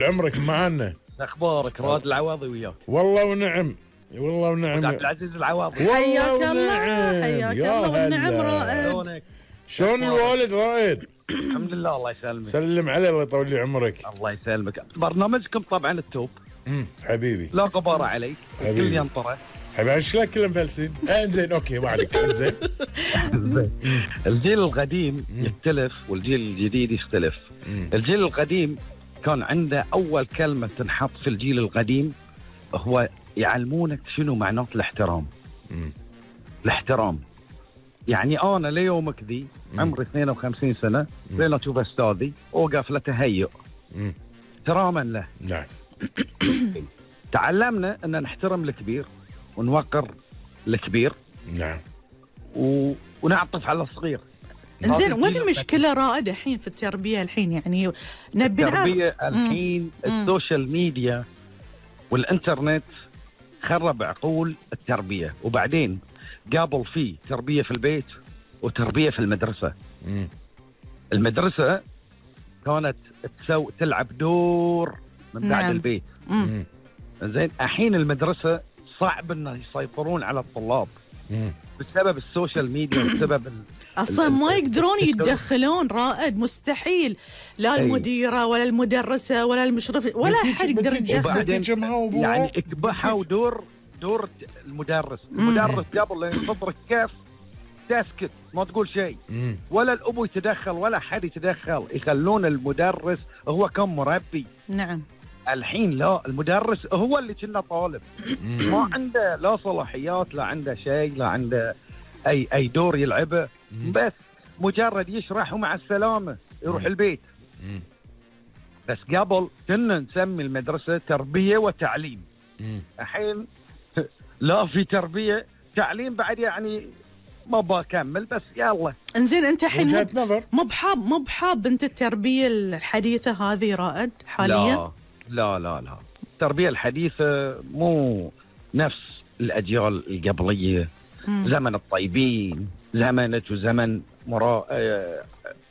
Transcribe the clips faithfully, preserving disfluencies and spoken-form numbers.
عمرك معنا. اخبارك راد العواضي وياك؟ والله ونعم والله ونعم. عبد العزيز العواضي. حياك الله حياك الله والنعم رائد. شلون الوالد رائد؟ الحمد لله الله يسلمك. سلم عليه الله يطول لي عمرك. الله يسلمك. برنامجكم طبعا التوب. امم حبيبي لا غبار عليك. حبيبي. الكل ينطره. حبيبي شكلك كلهم فلسين. انزين اوكي ما عليك. انزين الجيل القديم يختلف والجيل الجديد يختلف. مم. الجيل القديم كان عنده اول كلمه تنحط في الجيل القديم هو يعلمونك شنو معنات الاحترام. مم. الاحترام يعني انا ليومك ذي عمري اثنين وخمسين سنه زين اشوف استاذي اوقف له تهيئ احتراما له. نعم. تعلمنا ان نحترم الكبير ونوقر الكبير. نعم. و... ونعطف على الصغير. زين وين المشكله رائد الحين في التربيه الحين يعني نبي نعرف التربيه الحين مم. السوشيال ميديا والانترنت خرب عقول التربيه. وبعدين قابل فيه تربيه في البيت وتربيه في المدرسه. مم. المدرسه كانت تسوي تلعب دور من بعد نعم. البيت. مم. زين الحين المدرسه صعب انه يسيطرون على الطلاب. مم. بسبب السوشيال ميديا بسبب اصلا ما يقدرون يتدخلون رائد مستحيل لا المديره ولا المدرسه ولا المشرف ولا احد يقدر يتدخل. يعني اكبحوا دور دور المدرس. المدرس قبل لا يصدرك كيف تسكت ما تقول شيء ولا الابو يتدخل ولا حد يتدخل يخلون المدرس هو كان مربي. نعم. الحين لا المدرس هو اللي كنا طالب ما عنده لا صلاحيات لا عنده شيء لا عنده اي اي دور يلعبه بس مجرد يشرح ومع السلامه يروح البيت. بس قبل كنا نسمي المدرسه تربيه وتعليم. الحين لا في تربيه تعليم بعد يعني ما بكمل بس يلا. انزين انت الحين مو بحاب مو بحاب انت التربيه الحديثه هذه رائد حاليا؟ لا لا لا لا التربية الحديثة مو نفس الأجيال القبلية. مم. زمن الطيبين زمنة وزمن مراء آه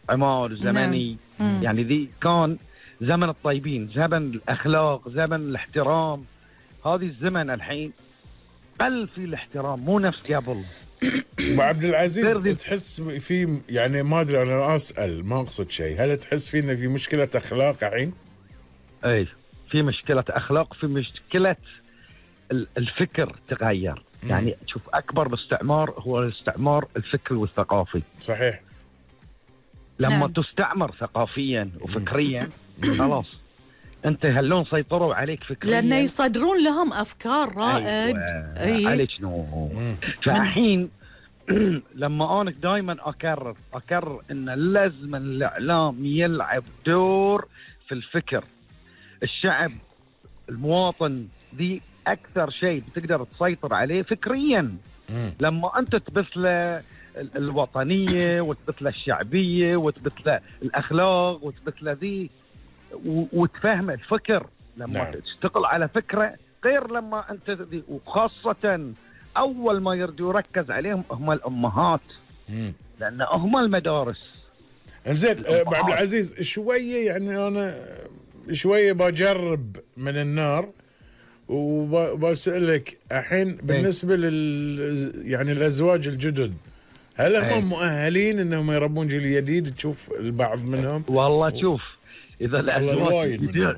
عمار زمني. نعم. يعني ذي كان زمن الطيبين زمن الأخلاق زمن الاحترام. هذه الزمن الحين قل في الاحترام مو نفس قبل. ابو عبد العزيز تحس في يعني ما ادري انا اسال ما اقصد شيء هل تحس فينا في مشكلة أخلاق الحين؟ اي في مشكلة أخلاق في مشكلة الفكر تغير. مم. يعني شوف أكبر الاستعمار هو الاستعمار الفكري والثقافي. صحيح. لما نعم. تستعمر ثقافيا وفكريا خلاص أنت هلون سيطروا عليك فكريا لأنه يصدرون لهم أفكار رائد. أيوة. عليك شنو فالحين لما أنا دائما أكرر أكرر إن لازم الإعلام يلعب دور في الفكر. الشعب المواطن دي أكثر شيء بتقدر تسيطر عليه فكريا. مم. لما أنت تبث له الوطنية وتبث له الشعبية وتبث له الأخلاق وتبث له ذي وتفهم الفكر لما نعم. تشتغل على فكرة غير لما أنت دي. وخاصة أول ما يرد يركز عليهم هم الأمهات. مم. لأن هم المدارس. انزين ابو عبد العزيز شوية يعني أنا شوية بجرب من النار وبسألك الحين بالنسبة لل يعني الأزواج الجدد هل هم مؤهلين انهم يربون جيل جديد؟ تشوف البعض منهم والله شوف اذا الازواج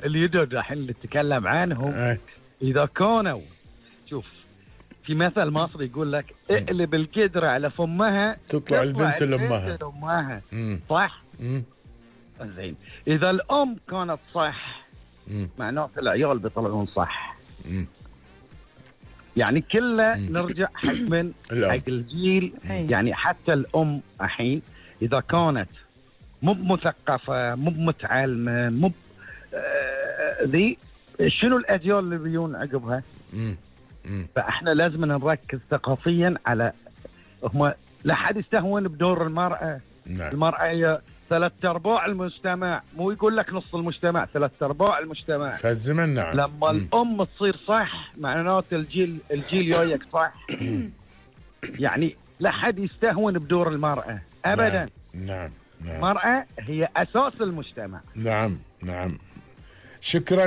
الجدد الحين اللي نتكلم عنهم أي. اذا كانوا شوف في مثل مصري يقول لك اقلب القدرة على فمها تطلع البنت لامها. صح؟ مم. زين اذا الام كانت صح معناته العيال بيطلعون صح. مم. يعني كله نرجع حق من حق الجيل. يعني حتى الام الحين اذا كانت مو مثقفه مو متعلمه مو ذي آه شنو الاجيال اللي بيجون عقبها؟ مم. مم. فاحنا لازم نركز ثقافيا على هم لا حد يستهون بدور المراه. نعم. المراه هي ثلاث ارباع المجتمع مو يقول لك نص المجتمع ثلاث ارباع المجتمع في الزمن. نعم. لما م. الام تصير صح معناته الجيل الجيل جايك صح. يعني لا حد يستهون بدور المراه ابدا. نعم. نعم. المراه هي اساس المجتمع. نعم. نعم. شكرا.